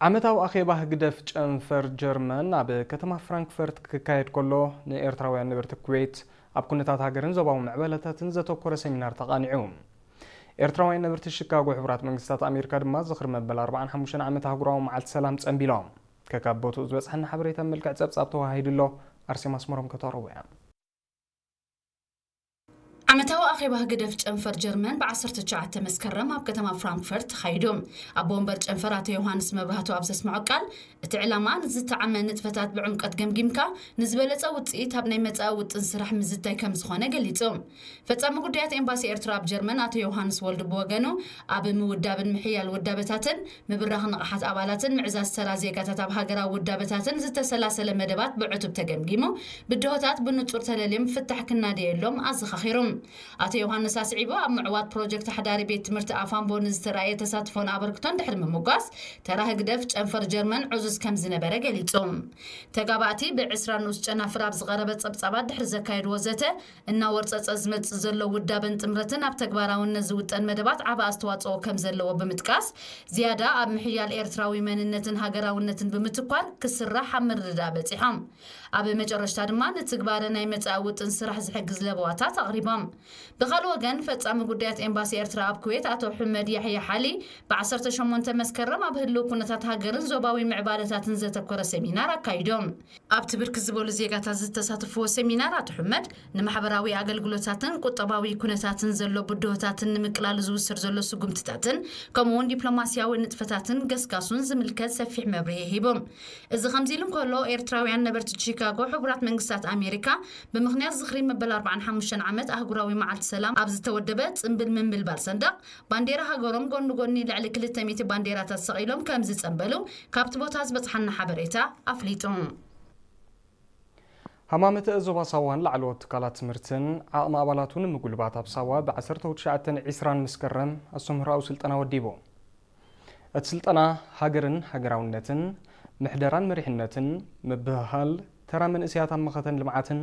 ዓመታዊ ኣኼባ ህግደፍ ጨንፈር ጀርመን ኣብ ከተማ ፍራንክፈርት ክካየድ ከሎ፣ ንኤርትራውያን ነበርቲ ኩዌት ኣብ ኩነታት ሃገርን ዞባዊ ምዕባለታትን ዘተኮረ ሰሚናር ተቓኒዑ። ኤርትራውያን ነበርቲ ሺካጎ ሕቡራት መንግስታት ኣሜሪካ ድማ ዝኽሪ መበል ኣርባዓን ሓሙሽተን ዓመት ኣህጉራዊ መዓልቲ ሰላም ጸንቢሎም። ከካብ ቦትኡ ዝበጽሐና ሓበሬታ መልክዕ ጸብጻብ ተዋሂዱ ኣሎ። ኣርሴማ ኣስመሮም ከተቕርቦ እያ። ዓመታዊ ኣኼባ ህግደፍ ጨንፈር ጀርመን ብ ዓሰርተ ትሽዓተ መስከረም ኣብ ከተማ ፍራንክፈርት ተኻይዱ። ኣቦ ወንበር ጨንፈር ኣቶ ዮሃንስ መብራህቱ ኣብ ዘስምዖ ቃል፣ እቲ ዕላማ ንዝተዓመ ንጥፈታት ብዕምቀት ገምጊምካ ንዝበለጸ ውጽኢት ኣብ ናይ መጻኢ ውጥን ስራሕ ምዝታይ ከም ዝኾነ ገሊጹ። ፈጻሚ ጉዳያት ኤምባሲ ኤርትራ ኣብ ጀርመን ኣቶ ዮሃንስ ወልዱ ብወገኑ፣ ኣብ ምውዳብን ምሕያል ውዳበታትን ምብራኽ ንቕሓት ኣባላትን ምዕዛዝ ተራ ዜጋታት ኣብ ሃገራዊ ውዳበታትን ዝተሰላሰለ መደባት ብዕቱብ ተገምጊሙ፣ ብድሆታት ብንጹር ተለልዮም ፍታሕ ክናደየሎም ኣዘኻኺሩ። ኣቶ ዮሃንስ ኣስዒቡ፣ ኣብ ምዕዋት ፕሮጀክት ሓዳሪ ቤት ትምህርቲ ኣፋምቦ ንዝተራእየ ተሳትፎን ኣበርክቶን ድሕሪ ምምጓስ፣ ተራ ህግደፍ ጨንፈር ጀርመን ዕዙዝ ከም ዝነበረ ገሊጹ። ተጋባእቲ ብዕስራ ንኡስ ጨናፍር ኣብ ዝቐረበ ጸብጻባት ድሕሪ ዘካየድዎ ዘተ፣ እናወርጸጸ ዝመጽእ ዘሎ ውዳበን ጥምረትን ኣብ ተግባራውነት ዝውጠን መደባት ዓቢ ኣስተዋጽኦ ከም ዘለዎ ብምጥቃስ፣ ዝያዳ ኣብ ምሕያል ኤርትራዊ መንነትን ሃገራውነትን ብምትኳር ክስራሕ ኣብ ምርድዳእ በጺሖም። ኣብ መጨረሽታ ድማ ንትግባረ ናይ መጻኢ ውጥን ስራሕ ዝሕግዝ ለበዋታት ኣቕሪቦም። ብኻልእ ወገን፣ ፈጻሚ ጉዳያት ኤምባሲ ኤርትራ ኣብ ኩዌት ኣቶ ሕመድ ያሕያ ሓሊ፣ ብ ዓሰርተ ሸሞንተ መስከረም ኣብ ህልው ኩነታት ሃገርን ዞባዊ ምዕባለታትን ዘተኮረ ሰሚናር ኣካይዶም። ኣብቲ ብርክት ዝበሉ ዜጋታት ዝተሳተፍዎ ሰሚናር ኣቶ ሕመድ፣ ንማሕበራዊ ኣገልግሎታትን ቁጠባዊ ኩነታትን ዘሎ ብድሆታትን ንምቅላሉ ዝውሰድ ዘሎ ስጉምትታትን፣ ከምኡ እውን ዲፕሎማስያዊ ንጥፈታትን ገስጋሱን ዝምልከት ሰፊሕ መብርሂ ሂቦም። እዚ ከምዚ ኢሉ እንከሎ፣ ኤርትራውያን ነበርቲ ቺካጎ ሕቡራት መንግስታት ኣሜሪካ ብምኽንያት ዝኽሪ መበል ኣርባዓን ሓሙሽተን ዓመት ኣህጉራዊ መዓልቲ ሰላም ኣብ ዝተወደበ ጽምብል ምንብልባል ሰንደቕ ባንዴራ ሃገሮም ጎኒ ጎኒ ልዕሊ ክልተ ሚእቲ ባንዴራታት ሰቒሎም ከም ዝጸንበሉ ካብቲ ቦታ ዝበጽሓና ሓበሬታ ኣፍሊጡ። ሃማመተ ዞባ ሳዋን ላዕለዎት ትካላት ትምህርትን ዓቕሚ ኣባላቱ ንምጉልባት ኣብ ሳዋ ብ ዓሰርተ ትሽዓተን ዒስራን መስከረም ኣስተምህሮኣዊ ስልጠና ወዲቡ። እቲ ስልጠና ሃገርን ሃገራውነትን፣ ምሕደራን መሪሕነትን፣ ምብህሃል ተራ መንእሰያት ኣብ መኸተን ልምዓትን፣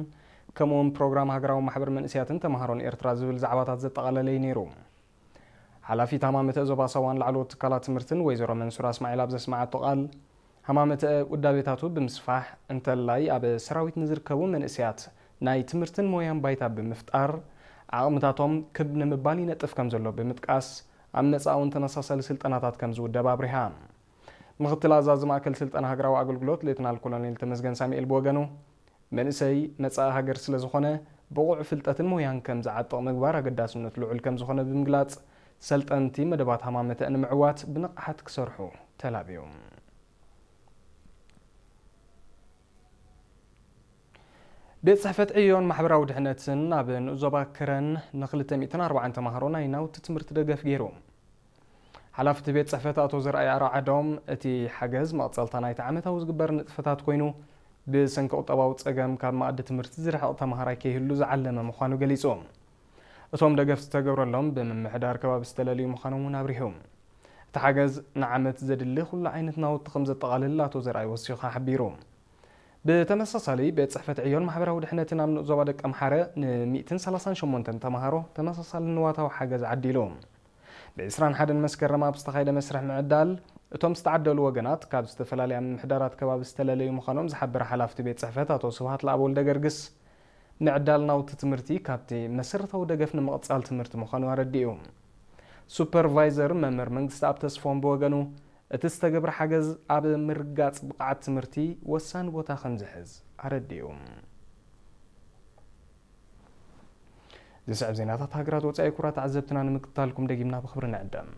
ከምኡውን ፕሮግራም ሃገራዊ ማሕበር መንእሰያትን ተምሃሮን ኤርትራ ዝብል ዛዕባታት ዘጠቓለለ እዩ ነይሩ። ሓላፊት ሃማመተ ዞባ ሳዋን ላዕለዎት ትካላት ትምህርትን ወይዘሮ መንሱራ እስማዒል ኣብ ዘስመዓቶ ቃል፣ ሃማመተ ውዳቤታቱ ብምስፋሕ እንተላይ ኣብ ሰራዊት ንዝርከቡ መንእሰያት ናይ ትምህርትን ሞያን ባይታ ብምፍጣር ዓቕምታቶም ክብ ንምባል ይነጥፍ ከም ዘሎ ብምጥቃስ፣ ኣብ መጻኢ እውን ተመሳሳሊ ስልጠናታት ከም ዝውደብ ኣብሪሃ። ምኽትል ኣዛዚ ማእከል ስልጠና ሃገራዊ ኣገልግሎት ሌተናል ኮሎኔል ተመስገን ሳሙኤል ብወገኑ፣ መንእሰይ መጻኢ ሃገር ስለ ዝኾነ፣ ብቑዕ ፍልጠትን ሞያን ከም ዝዓጥቕ ምግባር ኣገዳስነቱ ልዑል ከም ዝኾነ ብምግላጽ፣ ሰልጠንቲ መደባት ሃማመተ ንምዕዋት ብንቕሓት ክሰርሑ ተላብዩ። ቤት ጽሕፈት ዕዮን ማሕበራዊ ድሕነትን ኣብ ንኡስ ዞባ ከረን ንክልተ ሚእትን ኣርባዓን ተማሃሮ ናይ ናውቲ ትምህርቲ ደገፍ ገይሩ። ሓላፊ እቲ ቤት ጽሕፈት ኣቶ ዘርኣይ ኣርዓዶም፣ እቲ ሓገዝ መቕጸልታ ናይቲ ዓመታዊ ዝግበር ንጥፈታት ኮይኑ፣ ብሰንኪ ቁጠባዊ ጸገም ካብ መኣዲ ትምህርቲ ዝርሕቕ ተማሃራይ ከይህሉ ዝዓለመ ምዃኑ ገሊጹ። እቶም ደገፍ ዝተገብረሎም ብምምሕዳር ከባቢ ዝተለልዩ ምዃኖም እውን ኣብሪሁ። እቲ ሓገዝ ንዓመት ዘድሊ ኩሉ ዓይነት ናውቲ ከም ዘጠቓልል ኣቶ ዘርኣይ ወሲኹ ሓቢሩ። ብተመሳሳሊ፣ ቤት ጽሕፈት ዕዮን ማሕበራዊ ድሕነትን ኣብ ንኡስ ዞባ ደቀምሓረ ን ሚእትን ሰላሳን ሸሞንተን ተማሃሮ ተመሳሳሊ ንዋታዊ ሓገዝ ዓዲሉ። ብ ዕስራን ሓደን መስከረም ኣብ ዝተኻየደ መስርሕ ምዕዳል፣ እቶም ዝተዓደሉ ወገናት ካብ ዝተፈላለያ ምምሕዳራት ከባቢ ዝተለለዩ ምዃኖም ዝሓበረ ሓላፍቲ ቤት ጽሕፈት ኣቶ ስብሃት ለኣብ ወልደ ገርግስ፣ ምዕዳል ናውቲ ትምህርቲ ካብቲ መሰረታዊ ደገፍ ንምቕጻል ትምህርቲ ምዃኑ ኣረዲኡ። ሱፐርቫይዘር መምህር መንግስትኣብ ተስፎም ብወገኑ፣ እቲ ዝተገብረ ሓገዝ ኣብ ምርጋጽ ብቕዓት ትምህርቲ ወሳኒ ቦታ ከም ዝሕዝ ኣረዲኡ። ዝስዕብ ዜናታት ሃገራት ወጻኢ ክቡራት ተዓዘብትና ንምክትታልኩም ደጊምና ብኽብሪ ንዕደም።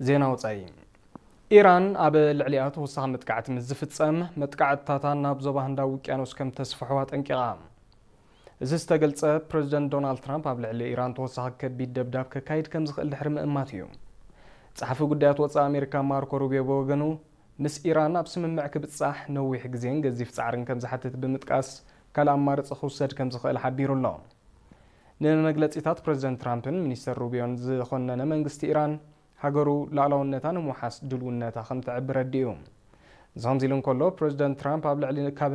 ዜና ወጻኢ። ኢራን ኣብ ልዕሊኣ ተወሳኺ መጥቃዕቲ ምስ ዝፍጸም፣ መጥቃዕትታታ ናብ ዞባ ህንዳዊ ውቅያኖስ ከም ተስፍሖ ኣጠንቂቓ። እዚ ዝተገልጸ፣ ፕረዚደንት ዶናልድ ትራምፕ ኣብ ልዕሊ ኢራን ተወሳኺ ከቢድ ደብዳብ ከካይድ ከም ዝኽእል ድሕሪ ምእማት እዩ። ጸሓፊ ጉዳያት ወጻኢ ኣሜሪካ ማርኮ ሩቢዮ ብወገኑ፣ ምስ ኢራን ኣብ ስምምዕ ክብጻሕ ነዊሕ ግዜን ገዚፍ ጻዕርን ከም ዝሓትት ብምጥቃስ፣ ካልእ ኣማርጺ ክውሰድ ከም ዝኽእል ሓቢሩ ኣሎ። ንመግለጺታት ፕረዚደንት ትራምፕን ሚኒስተር ሩቢዮን ዝኾነነ መንግስቲ ኢራን፣ ሃገሩ ሉዓላውነታ ንምውሓስ ድልውነታ ከም ተዕብር ኣዲኡ። እዚ ከምዚ ኢሉ እንከሎ፣ ፕረዚደንት ትራምፕ ኣብ ልዕሊ ካብ